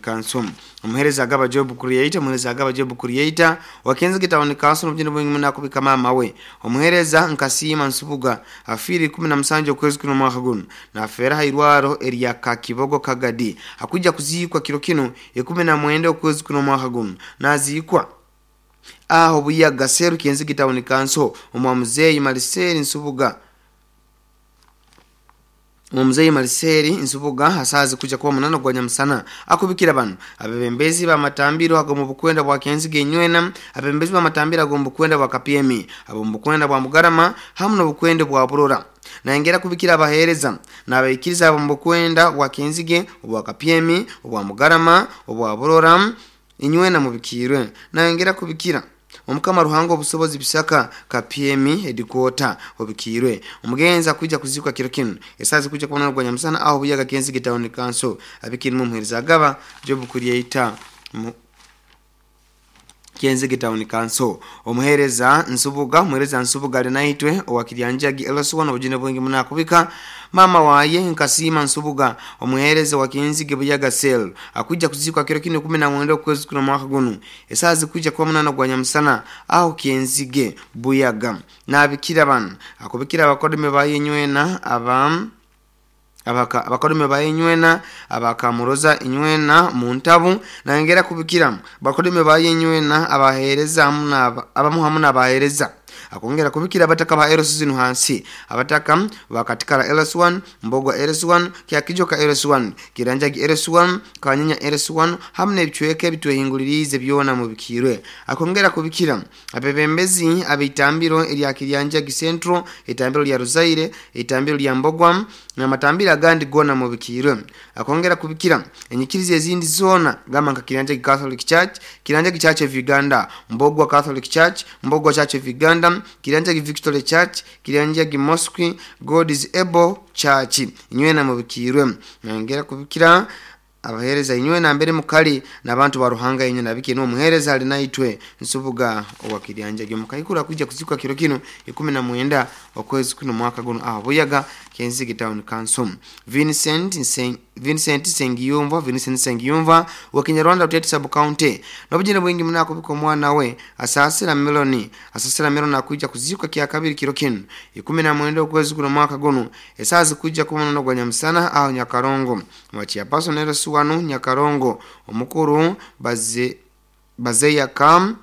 Council. Omuhereza Agaba Job Creator, omuhereza Agaba Job Creator wa Kenzige Town Council, n'obugendo bwingi muno akubika maama we. Omuhereza Nkasiima Nsubuga afiire 17 okwezi kuno omwaka guno, nafeera ha irwaro erya Kakibogo Kagadi. Akwija kuziikwa kiro kinu 19 okwezi kuno omwaka guno, naziikwa aho Buyaga Seru, Kenzige Town Council, omwa muzeeyi Maliseri Nsubuga. Omuzeyi Maliseri Nsubuga asazi kuja kuba munano gwa nyamusana. Akubikira bano abebembezi bamatambiro ago mu bukwenda bwa Kenzige inywena, abebembezi bamatambiro ago mu bukwenda bwa Kapyemi, abo mu bukwenda bwa Mugarama hamu n'obukwenda bwa Burora. Nayongera kubikira abahereza n'abaikiriza abo mu bukwenda bwa Kenzige, obwa Kapyemi, obwa Mugarama, obwa Burora, inywena mubikirwe. Nayongera kubikira Omukama Ruhanga obusobozi Bisaka Kapyemi headquarter obikirwe. Omugenzi akuija kuzikwa kiro kinu esazi kuja kubona gwa nyamusana aho Buyaga Kenzige Town Council. Abikirimu omuhereza Agaba Job Creator Kenzige Town Council. Omuhereza Nsubuga, omuhereza Nsubuga ali naitwe owa Kiryanjagi LS1, obujune bwingi muno akubika mama waye Nkasiima Nsubuga, omuhereza wa Kenzige Buyaga Cell, akuija kuzikwa kiro kinu 19 okwezi kuno mwaka guno esazi kuja kuba munano gwa nyamusana aho Kenzige Buyaga. Nabikira bano akubikira abakodome bayenywena abakodome bayenywena abakamuroza inywena mu ntabu. Nangera kubikira bakodome bayenywena abahereza abamu hamu n'abahereza. Akongera kubikira abataka ba Eros zinu hansi, abataka bakatikara LS1, Mbogwa LS1, Kyakijoka LS1, Kiranjagi LS1, Kanyinya LS1 hamu n'ebicweka ebitwehingulirize byona mubikirwe. Akongera kubikira abebembezi ab'itambiro erya Kiryanjagi Central, itambiro lya Ruzaire, itambiro lya Mbogwa n'amatambiro agandi gona mubikirwe. Akongera kubikira enyikiriza ezindi zona gamba nka Kiryanjagi Catholic Church, Kiryanjagi Church of Uganda, Mbogwa Catholic Church, Mbogwa Church of Uganda, Kiryanjagi Victory Church, Kiryanjagi Mosque, God is Able Church, inywena mubikirwe. Nongera kubikira abahereza inywena mbere mukali n'abantu ba Ruhanga inywena abiki no muhereza ali naitwe Nsubuga owa Kiryanjagi mukaikura kuja kuzikwa kiro kino 19 okwezi kuno mwaka guno aho Buyaga Kenzige Town Council. Vincent Sengiyumva, Vincent Sengiyumva wa Kinyarwanda Rutete Sub County, n'obujine bwingi muno akubika omwana we Asasira Meloni, Asasira Meloni akuja kuzikwa kya kabiri kiro kino 19 okwezi kuno mwaka guno esazi kuja kumono gwa nyamusana aho Nyakarongo mwachia pasonero suwanu Nyakarongo omukuru bazeya kam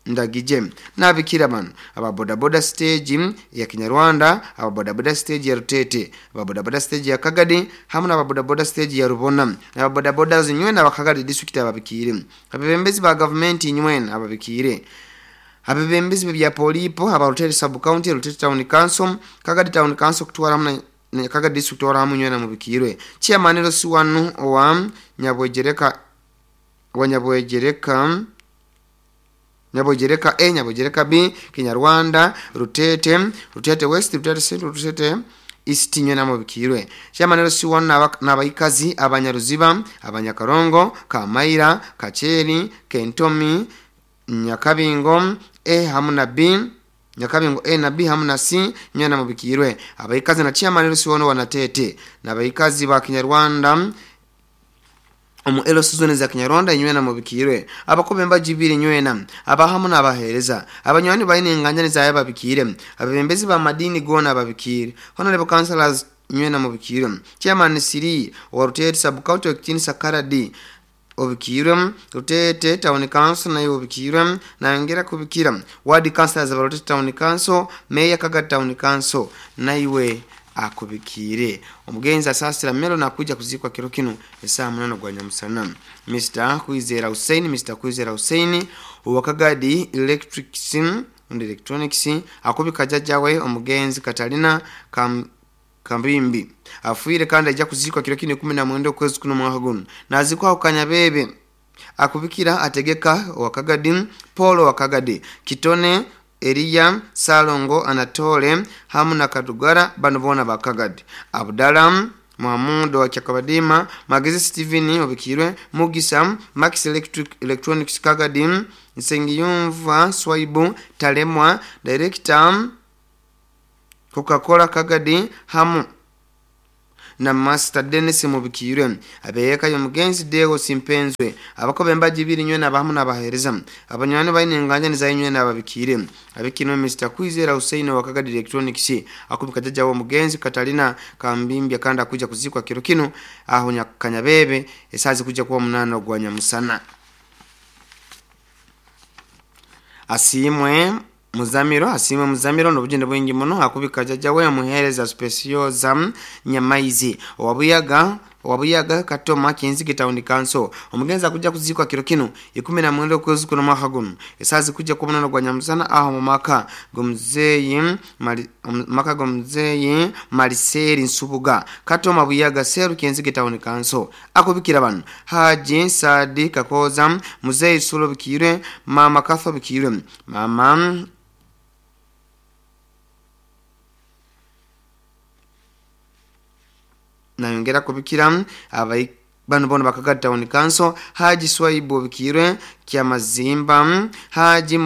Ndagije. Nabikira bano ababodaboda stage ya Kinyarwanda, ababodaboda stage ya Rutete, ababodaboda stage ya Kagadi hamu n'ababodaboda stage ya Rubona, ababodaboda zinywena abakagadi district ababikire, abebembezi ba government inywena ababikire, abebembezi bya polipo aba Rutete Sub County, Rutete Town Council, Kagadi Town Council kutwara hamwe na Kagadi district kutwara hamwe inywena mubikirwe. Chairman Rosiwanu owa Nyabwegereka, wa Nyabwegereka, Nyabogereka A, Nyabogereka B, Kinyarwanda, Rutete, Rutete West, Rutete Central, Rutete East nywena mubikirwe. Chairman Rosiwanu n'abaikazi abanyaruziba, abanyakarongo, Kamaira, Kacheri, Kentomi, Nyakabingo A hamu na B, Nyakabingo A na B hamu na C nywena mubikirwe. Abaikazi na Chairman Rosiwanu wanatete n'abaikazi ba Kinyarwanda omu elo zone za Kinyarwanda inywena mubikirwe. Abakobe mbajibiri nywena abahamu n'abahereza abanywani baine enganyani zaye babikire, abebembezi ba madini gona babikire, honorable councillors nywena mubikirwe. Chairman Siri wa Rutete Sub County Kitini Sakaradi obikirwe, Rutete Town Council nayo obikirwe. Nayongera kubikira ward councillors ba Rutete Town Council, Mayor Kagadi Town Council naiwe akubikire. Omugenzi Asasira Melo nakuja kuzikwa kiro kino esaa 8 gwa nyamusana. Mr Kwizera Hussein, Mr Kwizera Hussein owa Kagadi Electrics and Electronics akubika jajjawe omugenzi Katalina Kambimbi afuire kandi ajja kuzikwa kiro kino 19 okwezi kuno mwaka guno, nazikwa Kanyabebe. Akubikira ategeka owa Kagadi Paul wa Kagadi Kitone Eliya Salongo Anatole hamu na Kadugara bano bona bakagadi. Abdalam Muhammad wa Kyakabadima, Magezi Steven obikirwe, Mugisa Max Electric Electronics Kagadi, Nsengiyumva Swaibu Talemwa Director Coca-Cola Kagadi hamu Na Master Dennis mubikirwe. Abeyeka y'omugenzi Deo Simpenzwe abakobe embaji ibiri nywe n'abahamu n'abaheereza abanywani baine enganja nizayo nywe n'ababikire. Abikino Mr Kwizera Hussein wa Kagadi Electronics akubika jjajja w'omugenzi Katalina Kambimbya kandi akuja kuzikwa kiro kino aho Kanyabebe esazi kuja kuwa 8 ogwa nyamusana. Asimwe Muzamiro n'obugende bwingi muno akubika jjajja we muheereza Specioza Nyamaizi owabuyaga Katoma Kinzige Town Council. Omugenzi akuja kuzikwa kiro kino 19 okwezi kuno mwaka guno esazi kuja kuwa 8 gwa nyamusana aho mu maka g'omuzeeyi Maliseri Nsubuga Katoma Buyaga Seru Kinzige Town Council. Akubikira bano Haji Sadi Kakoza, Muzeeyi Sulo Bikire, Mama Katho Bikire, Mama nayongera kubikira abai bano bono Bakaga Town Council, Haji Swaibu Bikire Kyamazimba, Haji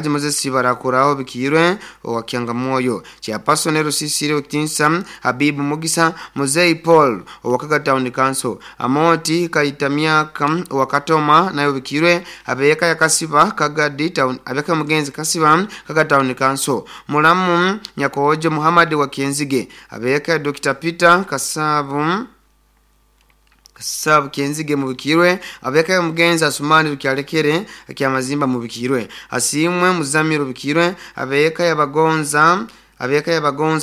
Moses Barakuraho Bikirwe owa Kyangamoyo, Chairperson Rusisire Otinsa, Habibu Mugisa, Muzei Paul owa Kaga Town Council, Amoti Kaitamiaka owa Katoma nayo Bikirwe, Abeka ya Kasiba Kagadi Town, Abeka Mugenzi Kasiba Kaga Town Council, Mulamu Nyakojo Muhammad wa Kienzige, Abeka ya Dr. Peter Kasabu Kenzige mubikirwe, Abeka Mugenzi Asumani Rukyalekere Kyamazimba mubikirwe, Asimwe Muzamiro bikirwe, Abeka yabagonza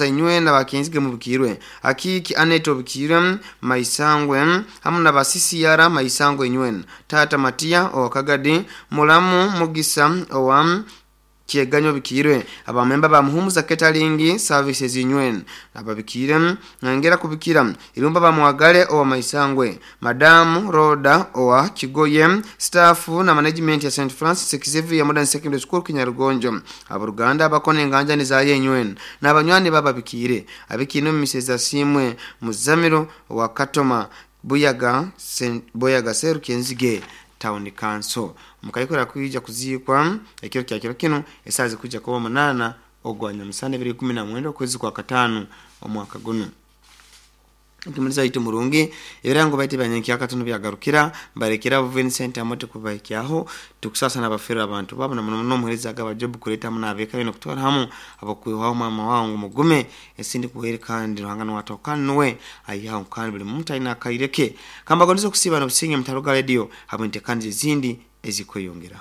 inywe na bakenzige mubikirwe, Akiki Aneto bikirwe Maisangwe hamu na basisi yara Maisangwe inywe, Tata Matia owa Kagadi, Mulamu Mugisa owa Kyeganyo bikirwe, abamemba ba Muhumuza Catering Services inywen ababikire. Nangera kubikira Irumba ba Mwagale owa Maisangwe, Madamu Roda owa Kigoye, staff na management ya St Francis Xavier Modern Secondary School Kinyarugonjo, abaruganda abakone enganja ni zaye inywen n'abanywani bababikire. Abikino Mrs Asimwe Muzamiro wa Katoma Buyaga Seru Kenzige Town Council. Mukayikora kuija kuzikwa ekiro kya kiro kino esazi kuja kuba 8 ogwa nyamusana 2019 okwezi kwa 5 omwaka guno. Tumaliza itu murungi ebirango baite banyanki akatono byagarukira barekera Vincent Amote kubaikyaho tukusasa nabafera abantu babo na muno muhereza agaba job kuleta munabeka bino kutwara hamu abakwihaho mama wangu mugume esindi kuhere kandi ruhangano watokanwe ayihaho kandi buli muntu aina akaireke kamba gondizo kusiba no businge mutaruga radio hamwe ntekandi zindi ezikweyongera.